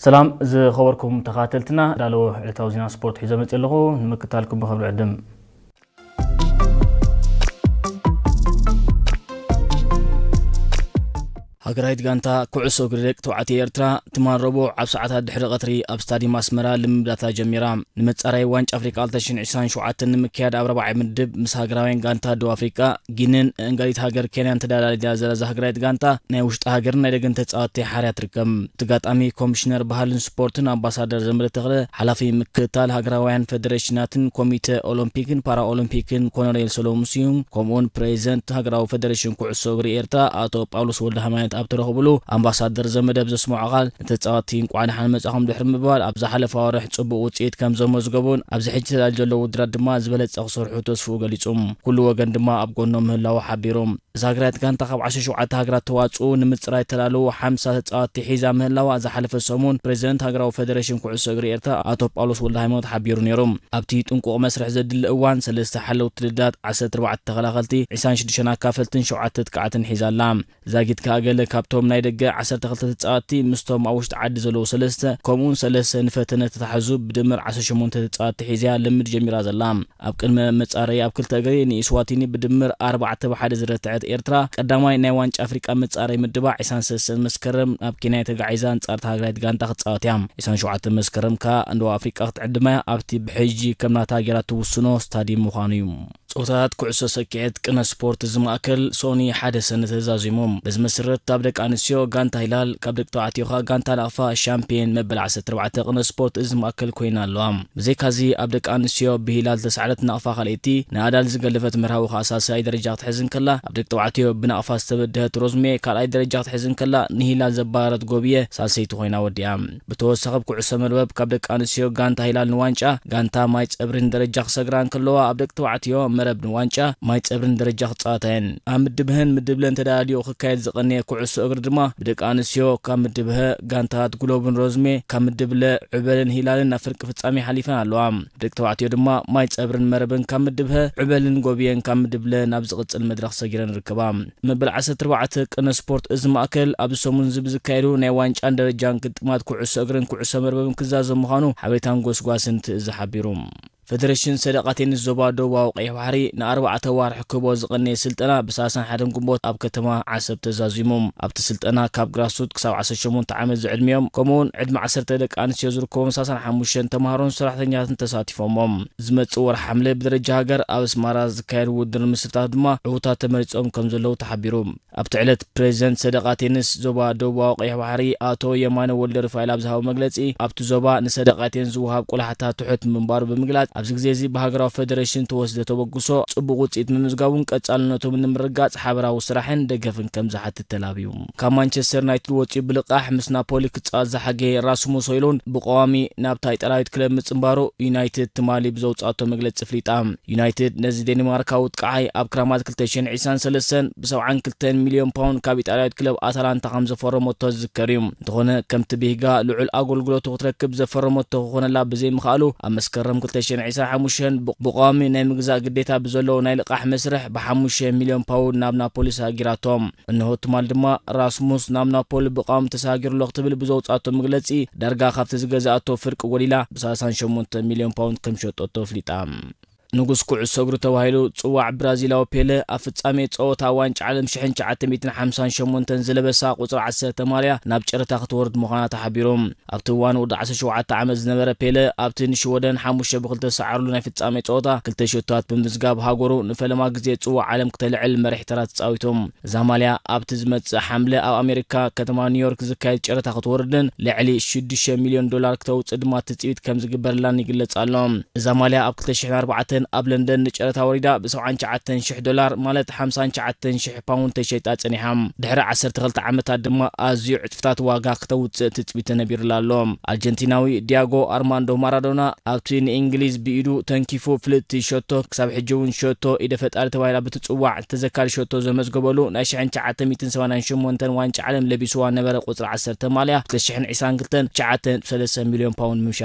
ሰላም ዝኸበርኩም ተኸታተልትና፣ ዳለዎ ዕለታዊ ዜና ስፖርት ሒዘ መጽእ ኣለኹ። ንምክታልኩም ብኽብሪ ዕድም። ሃገራዊት ጋንታ ኩዕሶ እግሪ ደቂ ተባዕትዮ ኤርትራ ትማል ረቡዕ ኣብ ሰዓታት ድሕሪ ቀትሪ ኣብ ስታዲየም ኣስመራ ልምምዳታ ጀሚራ። ንመጻረይ ዋንጫ ኣፍሪቃ ክልተ ሽሕን ዕስራን ሸውዓተን ንምክያድ ኣብ ራብዓይ ምድብ ምስ ሃገራውያን ጋንታ ደቡብ ኣፍሪቃ፣ ጊንን እንጋሊት ሃገር ኬንያን ተዳላሊላ ዘላ እዛ ሃገራዊት ጋንታ ናይ ውሽጢ ሃገርን ናይ ደገን ተጻወትቲ ሓርያ ትርከብ። ተጋጣሚ ኮሚሽነር ባህልን ስፖርትን ኣምባሳደር ዘመደ ተኽለ፣ ሓላፊ ምክትታል ሃገራውያን ፌደሬሽናትን ኮሚተ ኦሎምፒክን ፓራኦሎምፒክን ኮሎኔል ሰሎሙን ስዩም፣ ከምኡውን ፕሬዚደንት ሃገራዊ ፌደሬሽን ኩዕሶ እግሪ ኤርትራ ኣቶ ጳውሎስ ወልደ ሃይማኖት ኣብ ተረኽብሉ፣ ኣምባሳደር ዘመደ ብዘስምዖ ቃል፣ ንተጻወትቲ እንቋዕ ደሓን መጻኹም ድሕሪ ምባል፣ ኣብ ዝሓለፈ ኣዋርሕ ጽቡቕ ውጽኢት ከም ዘመዝገቡን ኣብዚ ሕጂ ተዳልዩ ዘሎ ውድድራት ድማ ዝበለጸ ክሰርሑ ተስፍኡ ገሊጹ። ኩሉ ወገን ድማ ኣብ ጎኖም ምህላዉ ሓቢሩ። እዛ ሃገራዊት ጋንታ ካብ ዓሰርተ ሸውዓተ ሃገራት ተዋጽኡ ንምጽራይ ተዳለዉ ሓምሳ ተጻወትቲ ሒዛ ምህላዋ ዝሓለፈ ሰሙን ፕሬዚደንት ሃገራዊ ፌደሬሽን ኩዕሶ እግሪ ኤርትራ ኣቶ ጳውሎስ ወልደ ሃይማኖት ሓቢሩ ነይሩ። ኣብቲ ጥንቁቕ መስርሕ ዘድሊ እዋን ሰለስተ ሓለውቲ ልዳት፣ ዓሰርተ ኣርባዕተ ተኸላኸልቲ፣ ዕስራን ሽዱሽተን ኣካፈልትን ሸውዓተ ኣጥቃዕትን ሒዛ ኣላ። ዛጊት ከኣ ገለ ካብቶም ናይ ደገ ዓሰርተ ክልተ ተጻወትቲ ምስቶም ኣብ ውሽጢ ዓዲ ዘለዉ ሰለስተ፣ ከምኡውን ሰለስተ ንፈተነ ተታሕዙ ብድምር ዓሰርተ ሸሞንተ ተጻወትቲ ሒዛ እያ ልምድ ጀሚራ ዘላ። ኣብ ቅድመ መጻረይ ኣብ ክልተ እግሪ ንኢስዋቲኒ ብድምር ኣርባዕተ ብሓደ ዝረትዐት ኤርትራ፣ ቀዳማይ ናይ ዋንጫ ኣፍሪቃ መጻረይ ምድባ ዕስራን ሰለስተን መስከረም ናብ ኬንያ ተጋዒዛ ኣንጻር እታ ሃገራዊት ጋንታ ክትጻወት እያ። ዕስራን ሸውዓተን መስከረም ከኣ ንደቡብ ኣፍሪቃ ክትዕድማ እያ። ኣብቲ ብሕጂ ከም ናታ ጌራ ትውስኖ ስታዲየም ምዃኑ እዩ። ጸወታታት ኩዕሶ ሰኪዔት ቅነ ስፖርት እዚ ማእከል ሶኒ ሓደ ሰነ ተዛዚሙ። በዚ መሰረት ኣብ ደቂ ኣንስትዮ ጋንታ ሂላል፣ ካብ ደቂ ተባዕትዮ ከኣ ጋንታ ናቕፋ ሻምፒየን መበል ዓሰርተ ኣርባዕተ ቅነ ስፖርት እዚ ማእከል ኮይና ኣለዋ። ብዘይካዚ ኣብ ደቂ ኣንስትዮ ብሂላል ዝተሳዕረት ናቕፋ ካልኣይቲ፣ ንኣዳል ዝገለፈት መርሃዊ ከኣ ሳልሳይ ደረጃ ክትሕዝ እንከላ፣ ኣብ ደቂ ተባዕትዮ ብናቕፋ ዝተበደሀት ሮዝሜ ካልኣይ ደረጃ ክትሕዝ እንከላ፣ ንሂላል ዘባረረት ጎብየ ሳልሰይቲ ኮይና ወዲኣ። ብተወሳኺ ኣብ ኩዕሶ መርበብ ካብ ደቂ ኣንስትዮ ጋንታ ሂላል ንዋንጫ፣ ጋንታ ማይ ጸብሪን ደረጃ ክሰግራ እንከለዋ፣ ኣብ ደቂ ተባዕትዮ መረብ ንዋንጫ ማይ ጸብሪን ደረጃ ክጻወታ እየን። ኣብ ምድብ ህን ምድብ ለን ተዳልዩ ክካየድ ዝቐነየ ኩዕሶ እግሪ ድማ ብደቂ ኣንስትዮ ካብ ምድብ ሀ ጋንታት ጉሎብን ሮዝሜ፣ ካብ ምድብ ለ ዕበልን ሂላልን ናብ ፍርቂ ፍጻሜ ሓሊፈን ኣለዋ። ደቂ ተባዕትዮ ድማ ማይ ጸብርን መረብን ካብ ምድብ ሀ፣ ዕበልን ጎብየን ካብ ምድብ ለ ናብ ዝቕጽል መድረኽ ሰጊረን ይርከባ። መበል ዓሰርተ ኣርባዕተ ቅነ ስፖርት እዚ ማእከል ኣብዚ ሰሙን እዚ ብዝካየዱ ናይ ዋንጫን ደረጃን ግጥማት ኩዕሶ እግርን ኩዕሶ መርበብን ክዛዘም ምዃኑ ሓበሬታን ጎስጓስን ትእዝ ሓቢሩ። ፌደሬሽን ሰደቓ ቴኒስ ዞባ ደቡባዊ ቀይሕ ባሕሪ ንኣርባዕተ ዋርሒ ክህቦ ዝቐነየ ስልጠና ብሰላሳን ሓደን ግንቦት ኣብ ከተማ ዓሰብ ተዛዚሙ። ኣብቲ ስልጠና ካብ ግራስሩት ክሳብ ዓሰርተ ሸሞንተ ዓመት ዝዕድሚኦም፣ ከምኡውን ዕድመ ዓሰርተ ደቂ ኣንስትዮ ዝርከቦም ሰላሳን ሓሙሽተን ተምሃሮን ሰራሕተኛታትን ተሳቲፎሞም። ዝመጽእ ወርሒ ሓምለ ብደረጃ ሃገር ኣብ ኣስመራ ዝካየድ ውድድር ንምስታፍ ድማ ዕዉታት ተመሪጾም ከም ዘለዉ ተሓቢሩ። ኣብቲ ዕለት ፕሬዚደንት ሰደቓ ቴኒስ ዞባ ደቡባዊ ቀይሕ ባሕሪ ኣቶ የማነ ወልደ ሩፋኤል ኣብ ዝሃቦ መግለጺ፣ ኣብቲ ዞባ ንሰደቓ ቴኒስ ዝወሃብ ቆላሕታ ትሑት ምንባሩ ብምግላጽ፣ ኣብዚ ግዜ እዚ ብሃገራዊ ፌደሬሽን ተወስደ ተበግሶ ጽቡቕ ውጽኢት ምምዝጋቡን ቀጻልነቶም ንምርግጋጽ ሓበራዊ ስራሕን ደገፍን ከም ዝሓትት ተላብዩ። ካብ ማንቸስተር ዩናይትድ ወጺኡ ብልቓሕ ምስ ናፖሊ ክጻወት ዝሓገየ ራስሙስ ሆይሉንድ ብቀዋሚ ናብታ ኢጣልያዊት ክለብ ምጽንባሩ ዩናይትድ ትማሊ ብዘውጻቶ መግለጺ ፍሊጣ። ዩናይትድ ነዚ ዴንማርካዊ ጥቃዓይ ኣብ ክራማት ክልተ ሽሕን ዕስራን ሰለስተን ብ ሰብዓን ክልተን ሚልዮን ፓውንድ ካብ ኢጣልያዊት ክለብ ኣታላንታ ከም ዘፈረመቶ ዝዝከር እዩ። እንተኾነ፣ ከምቲ ብሂጋ ልዑል ኣገልግሎቱ ክትረክብ ዘፈረመቶ ክኾነላ ብዘይምኽኣሉ፣ ኣብ መስከረም ክልተ ሽሕን ዕስራን ሓሙሽተን ብ-፣ ብቐዋሚ ናይ ምግዛእ ግዴታ ብዘለዎ ናይ ልቓሕ መስርሕ ብሓሙሽተ ሚልዮን ፓውንድ ናብ ናፖሊ ሰጊራቶ። እንሆ ትማል ድማ ራስሙስ ናብ ናፖሊ ብቐዋሚ ተሳጊሩ ኣሎ ክትብል ብዘውጻቶ መግለጺ፣ ዳርጋ ካብቲ ዝገዛእቶ ፍርቂ ጎዲላ ብ ሰላሳን ሸሞንተ ሚልዮን ፓውንድ ከም ሸጠቶ ኣፍሊጣ። ንጉስ ኩዕሶ እግሪ ተባሂሉ ጽዋዕ ብራዚላዊ ፔለ ኣብ ፍጻሜ ጸወታ ዋንጫ ዓለም ሽሕን ትሽዓተ ሚእትን ሓምሳን ሸሞንተን ዝለበሳ ቁጽሪ ዓሰርተ ማልያ ናብ ጨረታ ክትወርድ ምዃና ተሓቢሩ። ኣብቲ እዋን ወዲ ዓሰርተ ሸውዓተ ዓመት ዝነበረ ፔለ ኣብቲ ንሽወደን ሓሙሽተ ብኽልተ ዝሰዓርሉ ናይ ፍጻሜ ጸወታ ክልተ ሸቶታት ብምምዝጋብ ሃገሩ ንፈለማ ግዜ ጽዋዕ ዓለም ክተልዕል መሪሕ ተራ ተጻዊቱ። እዛ ማልያ ኣብቲ ዝመጽእ ሓምለ ኣብ ኣሜሪካ ከተማ ኒውዮርክ ዝካየድ ጨረታ ክትወርድን ልዕሊ ሽዱሽተ ሚልዮን ዶላር ክተውጽእ ድማ ትጽቢት ከም ዝግበረላን ይግለጽ ኣሎ። እዛ ማልያ ኣብ ክልተ ሽሕን ኣርባዕተን ኣብ ለንደን ንጨረታ ወሪዳ ብ ሰብዓን ትሽዓተን ሽሕ ዶላር፣ ማለት ሓምሳን ትሽዓተን ሽሕ ፓውንድ ተሸይጣ ጸኒሓ። ድሕሪ ዓሰርተ ክልተ ዓመታት ድማ ኣዝዩ ዕጽፍታት ዋጋ ክተውጽእ ትጽቢት ተነቢሩላ ኣሎ። ኣርጀንቲናዊ ዲያጎ ኣርማንዶ ማራዶና ኣብቲ ንእንግሊዝ ብኢዱ ተንኪፉ ፍልጥቲ ሸቶ፣ ክሳብ ሕጂ እውን ሸቶ ኢደ ፈጣሪ ተባሂላ ብትጽዋዕ ተዘካሪ ሸቶ ዘመዝገበሉ ናይ ሽሕን ትሽዓተ ሚእትን ሰማንያን ሸሞንተን ዋንጫ ዓለም ለቢስዋ ነበረ ቁጽሪ ዓሰርተ ማልያ ክልተ ሽሕን ዕስራን ክልተን ትሽዓተ ነጥቢ ሰለስተ ሚልዮን ፓውንድ ምምሻ